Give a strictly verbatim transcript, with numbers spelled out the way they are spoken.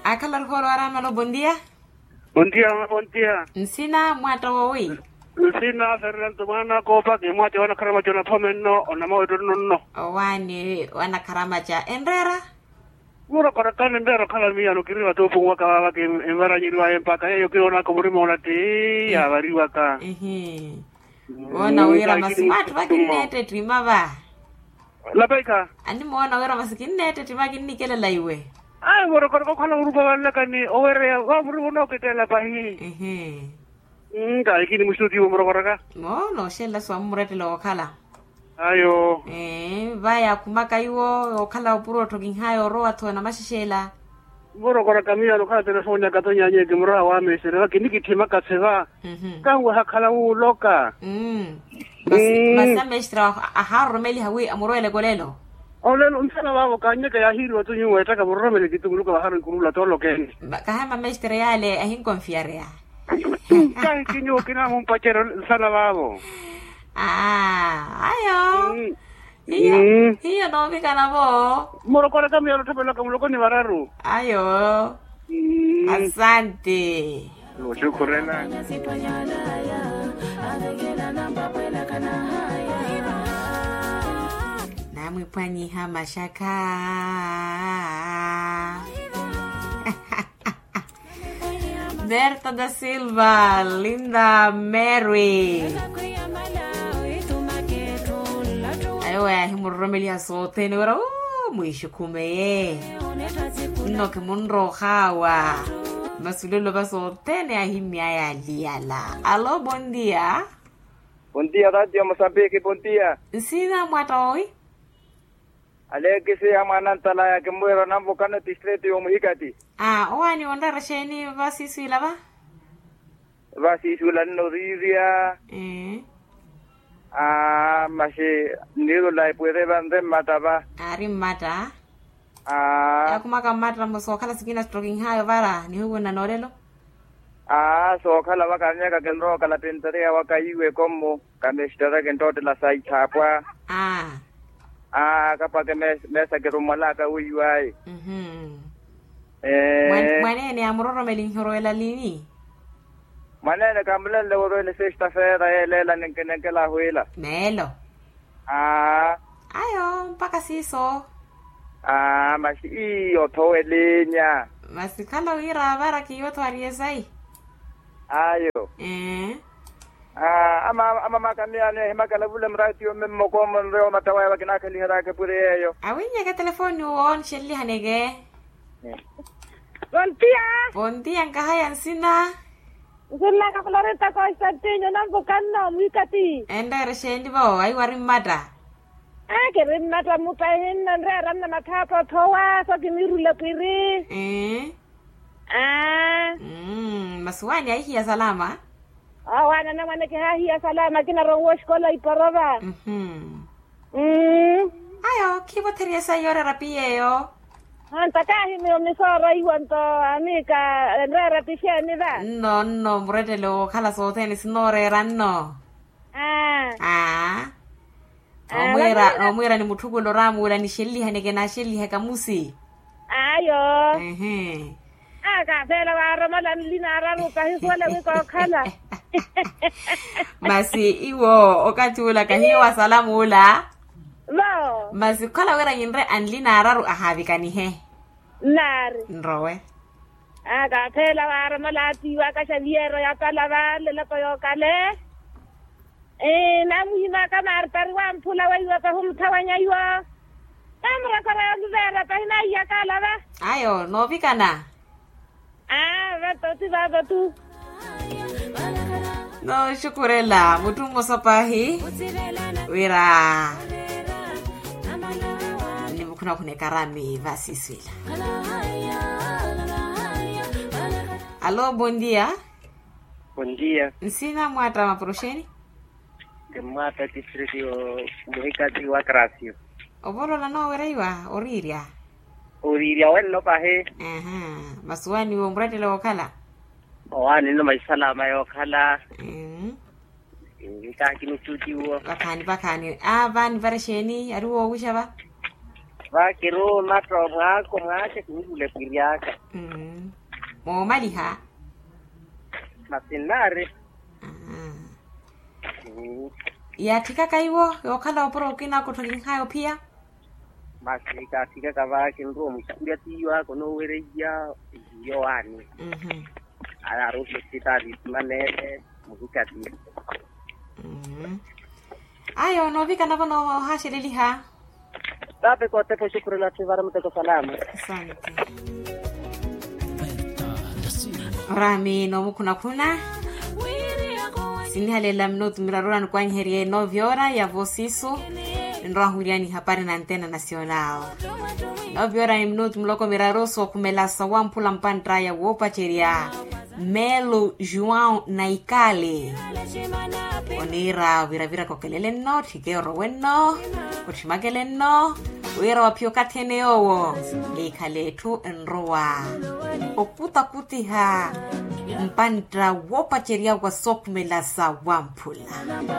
Akhala ruhoolo araamala obontia. Bontia. Bontia. Nsina mwatta wowi? Nsina fernando mwana koopa kimwati wanakharamaca onaphome nno onamawettelo nno. Owaani wanakharamaca enreera? Murokora kani nreera okhala miyano kiri vatuupu nwaka vavaka envaranyeriwaye mpakha yeeyo kiroonaka omurima onatti yaavariwaka. Voona wira masi mwatthu vakinneettettima va. Lapeikha. Animoona wira masi kinneettettima kinnikelela iwe. Ayi murokora kokhala murupa vanlakani owereya vamuri vunookettela pahi. Nkaikini mustutiwo murokoraka. Moona oxelela siwa mumurettela wookhala. Ayo. Vaya akhumaka iwo yookhala opuro otthokinhaya orowa-tho namaxexela. Murokoraka miyo anokhala telefoni ya katonyanyeke muraha wa mestere va kinikitthimaka seva. Kanwe hakhala wuuloka. Masi amestre ahaaroromeliha wi amuroweleke olelo. Olelo nsana vavo kanyeke yahiiriwa tu nyuwo ettaka muroromele kitunguluka vaharo ikurula toolokene. Kahema mestre yale ahinkonfiyareya. Kahi kinyuwo kinamumpacero nsana vavo. Ayo. Hiyo hiyo noovikana vo. Murokoraka miyalo otthopelaka muloko ni vararu. Ayo. Asante. Oxukhurela. Namwipwanyiha maxakha. Berta da silva, linda mary. Ayo wayahimuroromeliha sothene wira mwiixukhumeye. Nno kimunroohawa. Masulelo va sothene ahimmyaya aliyala alo bondia. Bondia radio mosambiki bondia. Nsina mwatta wowi? Alekisi ya mwanantalaya kimwira nanvukana distrito yomuhikati. Aa owaani onreera exeeni vasiiswiila va? Vasiiswiila nnorirya. Aa maxi nniirula epwire vanre mmatta va. Aari mmatta. Aa yaakhumaka mmatta mmosa okhala sikina sittokinhaayo vara nihuwinna noolelo. Aa sookhala vaka miaka kinrookala pintereya waka iwe kommo. Kamesitara kinttottela saithaapwa. Aa kapwake meesa kirummwalaka wiiwaye. Mwaneene amuroromeli nhorowela lini? Mwaneene kamulenle worowela esesta feera yeeleela ninkinenkela ahwiila. Meelo. Aa ayo mpakha siiso. Aa masi iyo othowelinya. Masi khala wira vara kiyo otho ariye sayi. Ayo. Aa ama ama maka miyano ehimakala vula muratiyo mme mmokomo nreyo omattawaya vakinakhaliheryaka epuri yeeyo. Awinyeke telefoni uwo nixelelihaneke. Pontia. Pontia nkahaya nsina. Nsunnaka florita constantinio nanvukanno mwikati. Enreera exeeni vo ayi wari mmatta? Aa kiri mmatta mmuta ehinno nreera nna mathaapa othowa so kinirula pwiri. Aa. Masi waani ahihiya salama. Awaana namwane kihaahiya salama kinaronwa oxikola iporova. Ayo khiivotherya esayi yooreera piyeeyo. Anta kaahimiyo misooraiwa nto amiika enreera pixeeni va? Nno nno murettele wookhala sothene sinooreera nno. Aa. Nomwiira nomwiira ni mutthukulo oramuula nixelelihaneke naxelelihaka musi. Ayo. Ehe. Akapheela waaromola nlina araru kahihuwela wi kookhala. Masi iwo okathi ula kahiyo wasala muula. Vo. Masi khukhala wira yinre anlina araru ahaavikanihe. Nnaari. Nrowe. Akapheela waaromola atiiwaka xaviyero ya pala va leloko yookale. Namuhimaka martari wamphula weiwa pahumutthawanya iwo. Namurekora yoluveera pahi naiyaka alava. Ayo noovikana. Aa vato ti vato tu. Nooxukhurela mutthu mmosa pahi wira nimukhuna khuna ekarami vasiswila. Alo bondia. Bondia. Nsina mwatta maporoxeni? Ti mwatta distrito muhikati wa krasio. Ovolola noowereiwa oriirya. Oriirya wenno pahi. Masi waani iwe omurattela wookhala? Owaani nno masi salama yookhala. Nkaakini ottutiwo. Vakhaani vakhaani. Aa vaani varexeeni ari woowixa va? Vakiruuma tto mwaako mwaaxe kinirule pwiryaka. Moomaliha. Masinnaari. Yaatthikaka iwo yookhala opuro okina akottholinkhayo ophiya. Masi kaatthikaka va kinrowa muxakhulya tiyo ako noowereiya. Iyowaani. Aya aruuhi osipitaali isimanene. Muhikati. Ayo noovikana vo noohaxeleliha. Tape kotepo xukruna ttivara muteko salaamu. Asante. Orami noomukhunakhuna. Sinihalelela minutu miraru ora nikwanyiherye noovya ora ya vosisu. Ninrowa ahuwiliyani hapari na antena nasional. Noovya ora ni minutu muloko miraru sookhumela sawamphula mpantt'aya woopacerya. Melo juwão naikale. Oniira wiravira kokelele nno otthike orowe nno. Otthimakele nno. Wira waphiya okathi ene yoowo. Eekhale etthu enrowa okutakutiha mpantta woopacerya wa sookhumela sawamphula.